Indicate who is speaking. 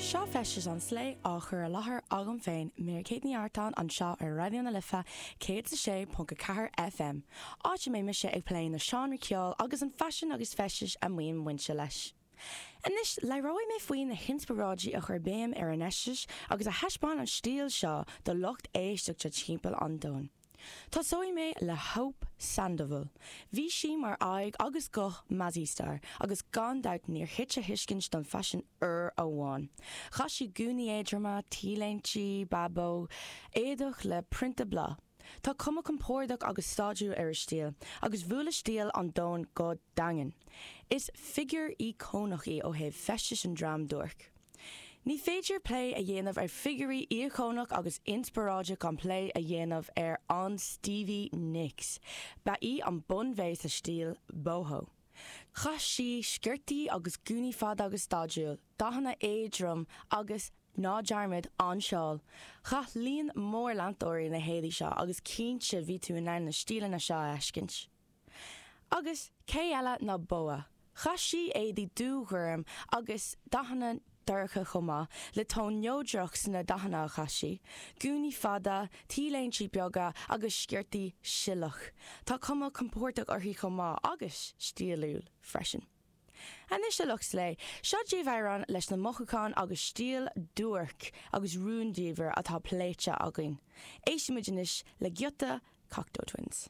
Speaker 1: Seo Feisteas an Slé á chur i láthair agam féin, Mary Kate Ní Artáin, anseo ar Raidió na Life 106.4 FM, áit a mbeidh mise ag plé na seánraí ceoil agus an faisean agus feistis a mbíonn bainte leis. Anois, labhróidh mé faoi na hinspioráidí a chuir béim ar an fheisteas agus a thaispeáin an stíl seo do lucht éisteachta timpeall an domhain. Tosóidh mé le Hope Sandoval. Bhí sí mar aghaidh agus guth Mazzy Star agus gan dabht níor thit a thuiscint don faisean uair amháin. Chaith sí gúnaí éadroma, T-léinte, bábóg, éadach le prionta bláth. Tá cuma compordach agus staidiúil ar a stíl agus bhuail a stíl an domhan go daingean. Is figiúr íocónach í ó thaobh feistis an dream duairc. Ní féidir plé a dhéanamh ar figiúirí íocónach agus inspioráideach gan plé a dhéanamh ar an Stevie Nicks. Ba í an bunbhé sa stíl boho. Chaith sí sciortaí agus gúnaí fada agus staidiúil, dathanna éadrom agus, ná dearmad, an seál. Chaith líon mór leantóirí na héadaí seo agus cinnte bhí tú in ann na stíleanna seo a fheiscint. Agus cé eile ná Boa? Chaith sí éadaí dúghorm agus dathanna dorcha chomh maith, le tón neodrach sna dathanna a chaith sí, gúnaí fada, T-léinte beaga agus sciortaí sileach. Tá cuma compordach uirthi chomh maith agus stíliúil freisin. Anois a lucht slé, seo daoibh amhrán leis na mothúcháin agus stíl duairc agus rúndiamhair atá pléite againn. Éistfimid anois le giota Cocteau Twins.